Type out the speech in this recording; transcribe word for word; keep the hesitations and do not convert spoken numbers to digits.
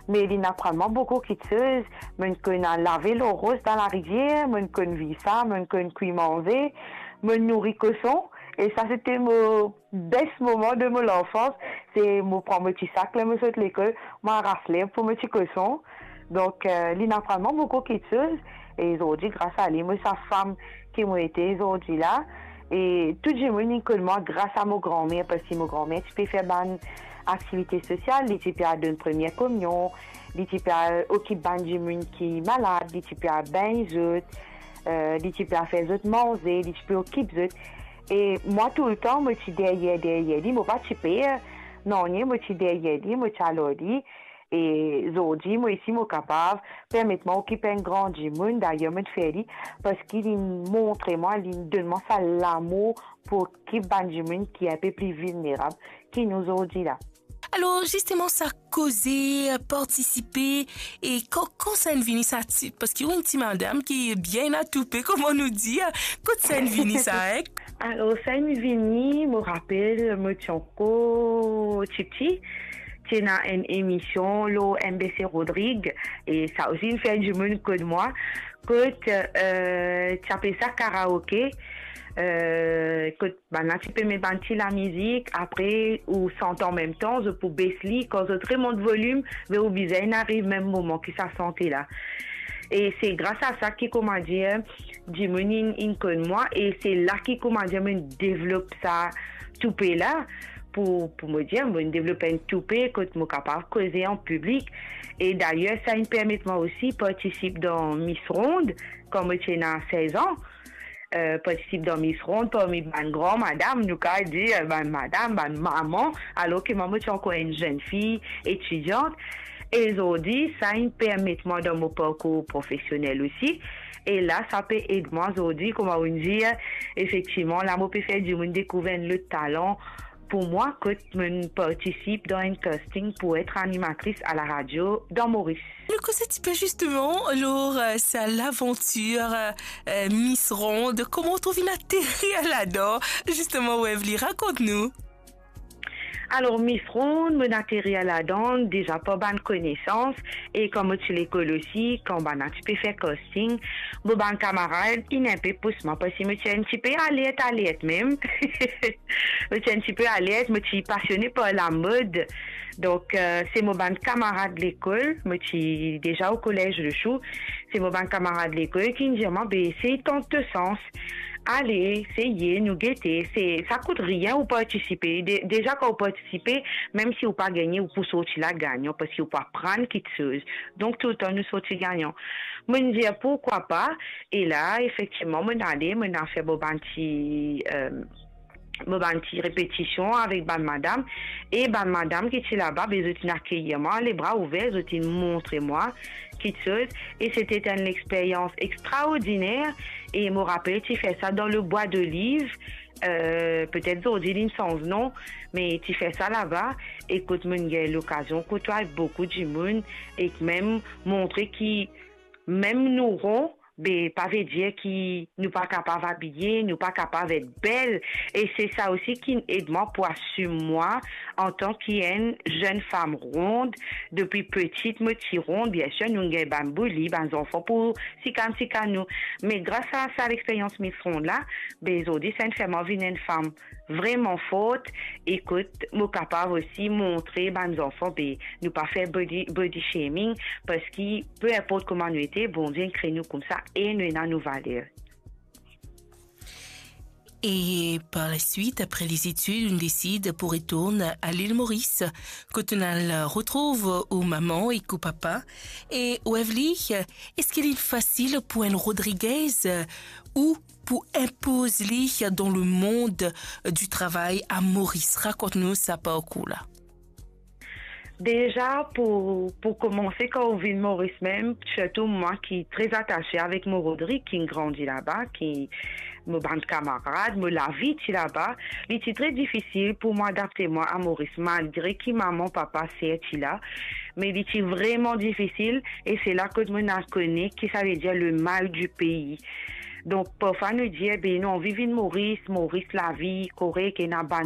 Me li'nn aprann mwa boukou kiksoz. Mo'nn konn al lave lor ros dan larivier, mo'nn konn vir sa, mo'nn konn kwi manze, mo'nn nouri koson. E sa, se te mo best moman de mo lanfans. Se mo pran mo ti sak ler mo sot lekol, mo aras lerb pou mo ti koson. Donk, eh, li'nn aprann mwa boukou kiksoz. E zordi, gras a li, mo sa fam ki mo ete zordi la. E tou dimoun inn konn mwa gras a mo granmer, parski mo granmer ti pe fer bann aktivite sosial, li ti pe al donn premie kominion, li ti pe al okip bann dimoun ki malad, li ti pe al begn zot, eh, li ti pe al fer zot manze, li ti pe okip zot. E mwa, toultan, mo ti deryer, deryer li, mo pa ti per nanye, mo ti deryer li, mo ti al ar li. E zordi, mo isi, mo kapav permet mwa okip enn gran dimoun, dayer mo'nn fer li, parski li'nn montre mwa, li'nn donn mwa sa lamour pou okip bann dimoun ki enpe pli vilnerab ki nou zordi la. Alor, zisteman, sa koze, partisipe, e kan, kan sa inn vini sa ti, parski ou enn ti madam ki bien atoupe, kouma nou dir, kot sa inn vini sa, eh? Alor, sa inn vini, mo rapel, mo ti ankor tipti, ti ena enn emision lor M B C Rodrig, e sa osi inn fer dimoun konn mwa, kot, eh, ti apel sa karaoke, eh, kot bann la ti pe met bann ti lamizik, apre ou sant anmemtan, zot pou bes li, kan zot remont volim, be ou bizin inn ariv mem moman ki sa sante la. E se gras a sa ki, kouma dir, dimoun inn, inn konn mwa, e se la ki, kouma dir, mo'nn devlop sa toupe la, pou, pou mo dir, mo'nn devlop enn toupe kot mo kapav koze an piblik. E dayer, sa inn permet mwa osi partisip dan Miss Ronde, kan mo ti ena sez an. Eh, partisip dan Miss Ronde parmi bann gran madam, nou kapav dir, bann madam, bann mama, alor ki mwa, mo ti ankor enn zenn fi, etidiant. E zordi, sa inn permet mwa dan mo parkour profesionel osi. E la, sa pe ed mwa zordi, kouma ou dir, efektivman, la mo pe fer dimoun dekouver enn lot talan pou mwa, kot mo'nn partisip dan enn casting pou et animatris a la radio dan Moris. Nou koze tipe zisteman lor, eh, sa lavantir, eh, Miss Ronde. Kouma ou trouv inn aterir ladan, zisteman, Wevly, rakont nou. Alor, Miss Ronde, mo'nn aterir ladan deza par bann konesans, e kan mo ti lekol osi, kan bann la ti pe fer casting, mo bann kamarad inn enpe pous mwa, parski mo ti enn tipe alert, alert mem. Mo ti enn tipe alert, mo ti pasione par lamod. Donk, eh, se mo bann kamarad lekol, mo ti deza o Collège Le Chou, se mo bann kamarad lekol ki'nn dir mwa, be, sey tant to sans. Ale, seye, nou gete, se, sa kout rien ou partisipe. De-, deza, kan ou partisipe, mem si ou pa gagne, ou pou sorti la gagnan, parski ou pou aprann kiksoz. Donk, toultan, nou sorti gagnan. Mo'nn dir, pourkwa pa? E la, efektivman, mo'nn ale, mo'nn al fer mo bann ti, eh, mo bann ti repetision avek bann madam. E bann madam ki ti laba, be, zot inn akeir mwa lebra ouver, zot inn montre mwa kiksoz. E se ti enn lexperyans extraordiner. E mo rapel, ti fer sa dan le Bois d'Olive. Eh, petet zordi li'nn sanz non, me ti fer sa laba. E kot mo'nn gagn lokazion koutway boukou dimoun, ek mem montre ki mem nou ron, be, pa ve dir ki nou pa kapav abiye, nou pa kapav et bel. E se sa osi ki'nn ed mwa pou asim mwa antan ki enn zenn fam ronde. Depi peti mo ti ronde, biensir, nou gagn bann bouli, bann zanfan pou sikann, sikann nou. Me gras a sa lexperyans Miss Ronde la, be, zordi, sa inn fer mwa vinn enn fam vreman fort, e kot mo kapav osi montre bann zanfan, be, nou pa fer body, body shaming, parski pe inport kouma nou ete, Bondie inn kre nou koumsa e nou ena nou valer. E par la swit, apre lezitid, ou'nn desid pou retourn a Lil Moris, kot ou'nn al retrouv ou mama ek ou papa. E Wevly, eski li fasil pou enn Rodriguez ou pou inpoz li dan lemond di travay a Moris? Rakont nou sa parkour la. Deza, pou, pou koumanse, kan ou vinn Moris mem, sirtou mwa ki tre atase avek mo Rodrig, ki'nn grandi laba, ki mo bann kamarad, mo lavi ti laba, li ti tre difisil pou mwa adapte mwa a Moris, malgre ki mama, papa, ser ti la, me li ti vreman difisil, e se la kot mo'nn al kone ki savedir le mal du pays. Donk, parfwa nou dir, be, nou anvi vinn Moris, Moris lavi korek, ena bann